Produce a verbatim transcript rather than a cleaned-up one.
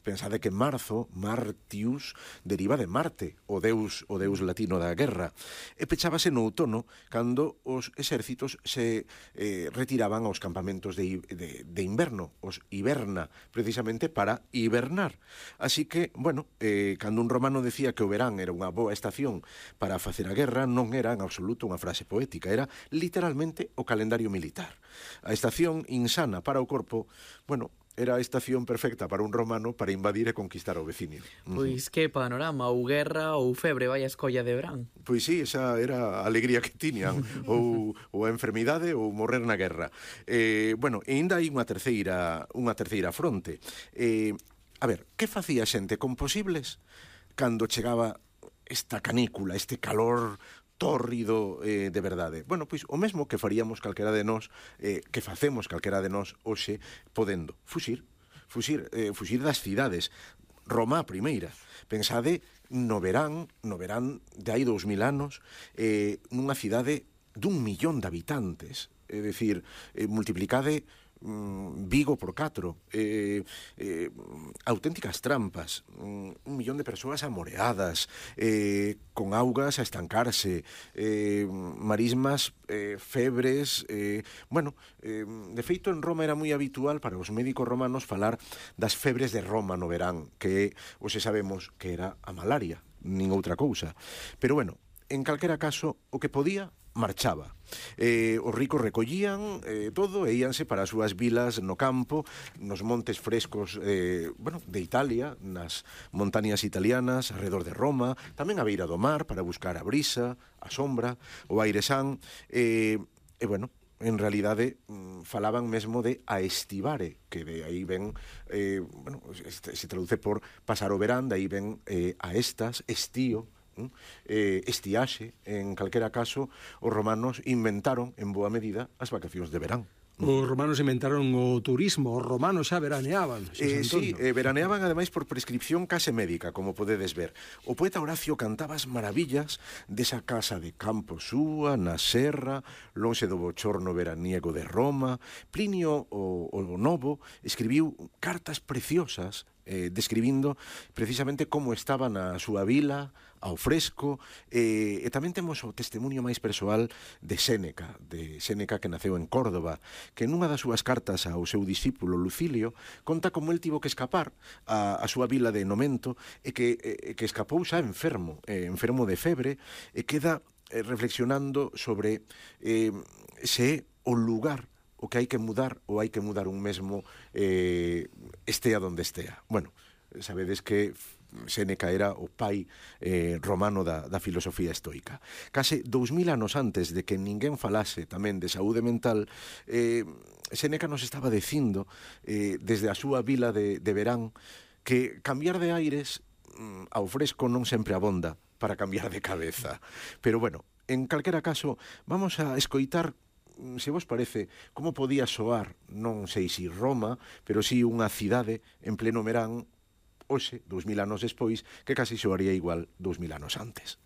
pensade que marzo, Martius, deriva de Marte, o deus o deus latino da guerra, e pechábase no outono, cando os exércitos se eh, retiraban aos campamentos de, de, de inverno, os hiberna, precisamente para hibernar. Así que, bueno, eh, cando un romano decía que o verán era unha boa estación para facer a guerra, non era en absoluto unha frase poética, era literalmente o calendario militar. A estación insana para o corpo, bueno, era a estación perfecta para un romano para invadir e conquistar o veciño. Pois que panorama, ou guerra ou febre, vai a escolla de verán. Pois sí, esa era a alegría que tiñan, ou, ou a enfermidade ou morrer na guerra. Eh, bueno, e ainda hai unha terceira, unha terceira fronte. Eh, a ver, que facía a xente con posibles cando chegaba esta canícula, este calor tórrido eh, de verdade? Bueno, pois o mesmo que faríamos calquera de nós, eh, que facemos calquera de nós hoxe, podendo fuxir, fuxir, eh, fuxir das cidades. Roma a primeira. Pensade no verán, no verán de hai dous mil anos, eh, nunha cidade dun millón de habitantes. É dicir, eh, multiplicade Vigo por catro, eh, eh, auténticas trampas, un millón de persoas amoreadas, eh, con augas a estancarse, eh, marismas, eh, febres, eh, bueno, eh, de feito en Roma era moi habitual para os médicos romanos falar das febres de Roma no verán, que hoxe sabemos que era a malaria, nin outra cousa. Pero bueno, en calquera caso, o que podía marchaba. Eh, os ricos recollían eh, todo e íanse para as súas vilas no campo, nos montes frescos eh, bueno, de Italia, nas montañas italianas, alrededor de Roma, tamén a beira do mar para buscar a brisa, a sombra, o aire san, eh, e bueno, en realidade falaban mesmo de a estivare, que de aí ven, eh, bueno, se traduce por pasar o verán, de aí ven eh, a estas, estío, Eh, estiaxe. En calquera caso, os romanos inventaron en boa medida as vacacións de verán. Os romanos inventaron o turismo, os romanos xa veraneaban. Eh, sí, eh, veraneaban ademais por prescripción case médica, como podedes ver. O poeta Horacio cantaba as maravillas desa casa de campo súa, na serra, lonxe do bochorno veraniego de Roma. Plinio o, o Novo escribiu cartas preciosas eh, describindo precisamente como estaba na súa vila, ao fresco, eh, e tamén temos o testemunho máis persoal de Séneca, de Séneca que naceu en Córdoba, que nunha das súas cartas ao seu discípulo Lucilio conta como el tivo que escapar a, a súa vila de Nomento e que, e, que escapou xa enfermo, eh, enfermo de febre, e queda eh, reflexionando sobre eh, se o lugar o que hai que mudar ou hai que mudar un mesmo eh, estea donde estea. Bueno, sabedes que Séneca era o pai eh, romano da, da filosofía estoica. Case dous mil anos antes de que ninguén falase tamén de saúde mental, eh, Séneca nos estaba dicindo eh, desde a súa vila de, de verán que cambiar de aires mm, ao fresco non sempre abonda para cambiar de cabeza. Pero bueno, en calquera caso, vamos a escoitar, se vos parece, como podía soar, non sei se Roma, pero si unha cidade en pleno verán, hoxe, dous mil anos despois, que casi soaría igual dous mil anos antes.